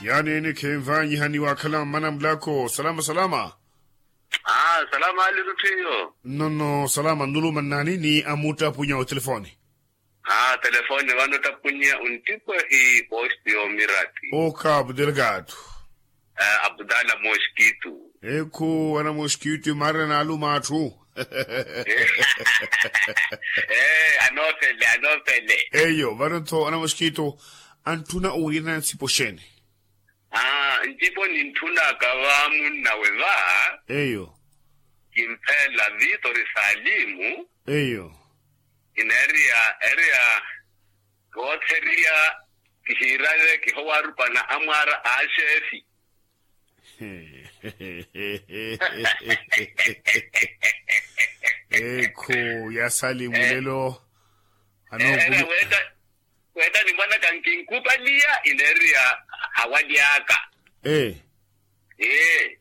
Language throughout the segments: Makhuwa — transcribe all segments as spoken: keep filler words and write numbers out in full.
Yaani enikhenvanyiha ni waakhala mmana mulako salama salama. Aa salama alirutthiyo. Nnono salama nnuluma nnaani ni amuttapunya otelefoni. Aa telefoni vano ottapunya onttipo hi posti yoomirati. Okapu delgado. Abdala moskitu. Ekhu ana moskitu imaarana naaluma atthu. Anoofele anoofele. Eyo vano-tho ana moskitu antthuna owiriyana ntsipo xeeni? Aa ntsipo nintthunaka va munnawe va. Eyo. Kimpheela vitori salimu. Eyo. Kineeriya ereya kootheriya kihiirale kihowaarupana amwaara a axeefi. Ekhu ya salimu lelo. Anookumu. Weetta nimwanaka nkinkupaliya ineeriya awaly'aka. Ee. Ee.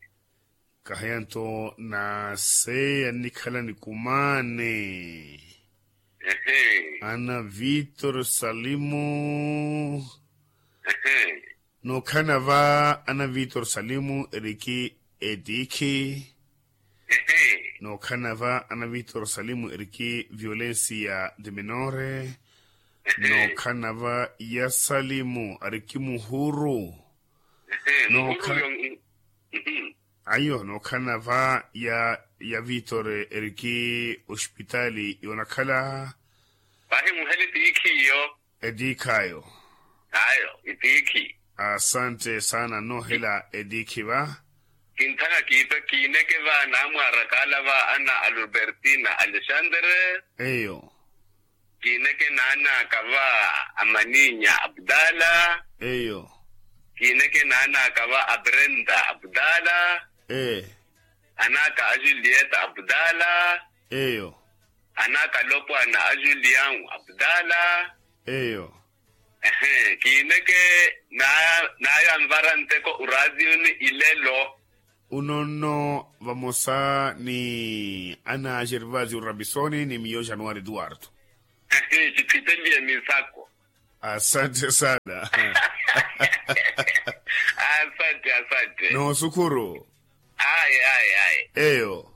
Kahiya-nto naseya nnikhala nikumaane. Ana vitor salimu. Nookhalana va ana vitor salimu eriki etiikhi. Nookhalana va ana vitor salimu eriki violencia de menore. Nookhalana va ya salimu ariki muhuru. Nookha- ayo nookhalana va ya ya vitor eriki ospitaali yoonakhala. Vahi muhela etiikhi iyo. Etiikhi ayo. Ayo etiikhi. Asante saana noohela etiikhi va. Kintthana kiipe kiineke va naamwaaraka ala va ana albertina alexandre. Eyo. Kiineke naan'aka va amaninya abdala. Eyo. Kiineke naan'aka va abrenda abdala. Ee. An'aka a julieta abdala. Eyo. An'aka alopwana a julian abdala. Eyo. Ehe kiineke naayo anvara nteko oratiyoni ilelo. Uno nno vamosa ni ana gervasio rabisoni ni miyo januari eduardo. Kiphiteliye misako. Asante sana. Asante asante. Noosukuru. Ayi ayi ayi. Eyo.